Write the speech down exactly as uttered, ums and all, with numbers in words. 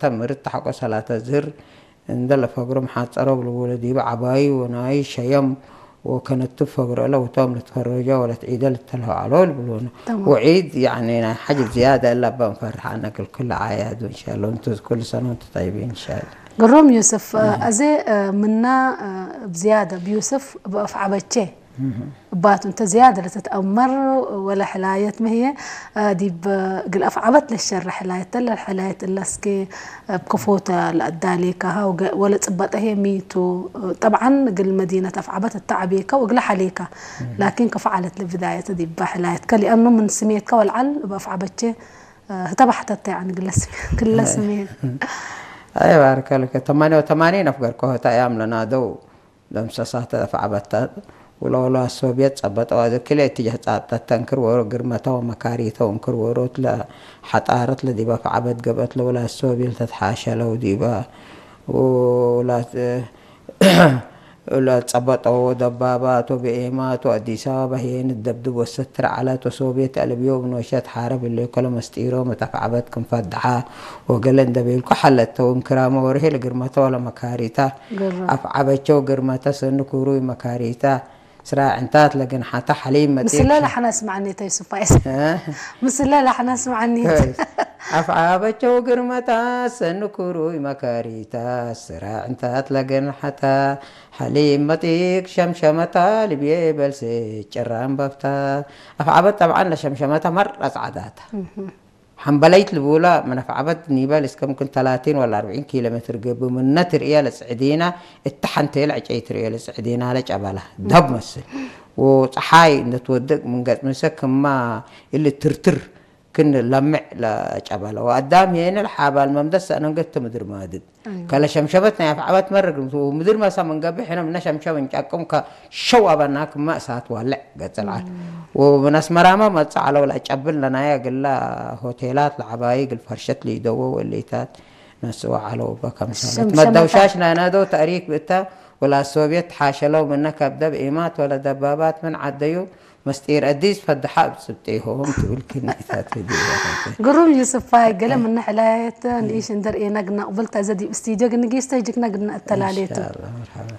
ተምር እት ሐቆ ሰላተ ዝህር እንደ ለፈግሮ መሓጸሮ ብልቡለ ዲበ ዐባዩ ወናዩ ሸየም ወከነቱ ፈግሮ እለ ውቶም ልትፈረጆ ወለትዒደ ልተልሆ ዐሎ ልብሉነ። ተማም። ወዒድ ያኒ ናይ ሐጅ ዝያደ እለ እበ እንፈርሕ አነ እግል ኩለ አዕያዱ እንሻአላህ። ወእንቱ ኩሉ ሰነ ወእንቱ ጠይቢን እንሻአላህ። ግሩም ዮስፍ፣ አዜ ምና እብ ዝያደ እብ ዮስፍ እብ አፍዐበቼ እባቱ እንተ ዝያደ ለትትአመር ወለ ሕላየት ምህዬ፣ ዲብ እግል አፍዐበት ለሸረ ሕላየት ተለ፣ ሕላየት እለ እስኬ እብ ክፎተ ለአዳሌካሃ ወገ-፣ ወለ ጽበጠ ህዬ ሚቱ። ጠብዓን እግል መዲነት አፍዐበት እተ ዐቤከ ወእግለ ሐሌከ፣ ላኪን ክፍ ዐለት ለብዳየተ ዲበ ሕላየትከ፣ ሊአኑ ምን ስሜትከ ወልዓል እብ አፍዐበቼ ህተ በሕተተ፣ ያኒ ግለ ስሜ-፣ ግለ ስሜት። አይ ባርከ ለከ። ተማንየ ወተማኒን አፍገርኮ ህተ አያም ለናደው ለምሰሳተ አፍዐበተ ወለወላድ ሶብየት ጸበጠው። አዜ ክልኤ እትጀህ ጻብጠት ተንክር ዎሮ፣ ግርመተ ወመካሪተ ወእንክር ዎሮት ለሐጣረት ለዲብ አፍዐበት ገብአት ለወላድ ሶብየት ለተትሓሸለው ዲበ ወላት ለጸበጠው ወደባባት ወብኤማት ወአዲስ አበባ ህዬ ንደብድብ ወሰትር ዐለት ወሶብየት አልብዮ ብኖሸት ሓረብ እሌኮ ለመስጢሮም እት አፍዐበት ክም ፈድሓ ወገሌ እንደ ቤልኮ ሐለተ ወእንክራመ ወርሄ ለግርመተ ወለመካሪተ። ግርም። አፍዐበቸው ግርመተ ሰኒ ኩሩይ መካሪተ ስራዕ ዕንታት ለግንሐተ ሐሊብ መጺክ ምስለ ሸ-፣ ለሐነ አስመዐኒ ተ ዩሱፍ ፋይዝ። እ? ምስለ ለሐነ አስመዐኒ። ከይስ። አፍዐበቸው ግርመተ ሰኒ ኩሩይ መካሪተ ስራዕ ዕንታት ለግንሐተ ሐሊብ መጺክ ሸምሸመተ ልብዬ በልሴ ጭራም በፍተ። አፍዐበት ጠብዓን ለሸምሸመተ መረ ጸዕዳተ። እህ። ሐምበለይት ልቡለ ምን አፍዐበት ኒበል እስከ ምክን ተላቲን ወላ አርብዒን ኪሎ ሜትር ገብእ፣ ምነ ትርእየ ለጽዕዲነ፣ እተ ሐንቴ ለዕጨይ ትርእየ ለጽዕዲነ ለጨበለ ደብ መስል። ወጸሓይ እንደ ትወድቅ ምን ገጽ ምሰ ክማ እሊ ትርትር ክን ለምዕ ለጨበለ። ወአዳም ሄነ ለሓባል መምደስ ሰእነንገት ምድር ማድድ። አይወ። ከለ ሸምሸበት ናይ አፍዐበት መርግ ምቱ ምድር መሰ ምን ገብእ ሕነ ምነ ሸምሸብ እንጫቅም ከሸው አበና ክመ እሳት ዋልዕ ገጽ ለዐል። እም። ወምን አስመራመ መጽእ ዐለው ለአጨብል ለናየ እግለ ሆቴላት ለዐባዩ እግል ፈርሸት ሊደወው እሊታት ነስኦ ዐለው በከምሰለት። ሸምሸመታ። መደውሻሽ ናይናደው ተእሪክ ብእተ ወላ ሶብየት ተሓሸለው ምነ ከብደ ብኤማት ወለ ደባባት ምን ዐደዩ መስጢር አዲስ ፈድሐ እብ ጽብጤሆም ትብል ክኒታት ህዲት። ግሩም ዩስፋይ፣ ገሌ ምነ ሕላየት ንኢሽ እንዴ ርኤነ ግና ቅብልታ እዘ ዲብ ስቱድዮ ግንጊስተ ጅግነ ግና እተላሌቱ። ኢንሻአላህ፣ መርሐባ።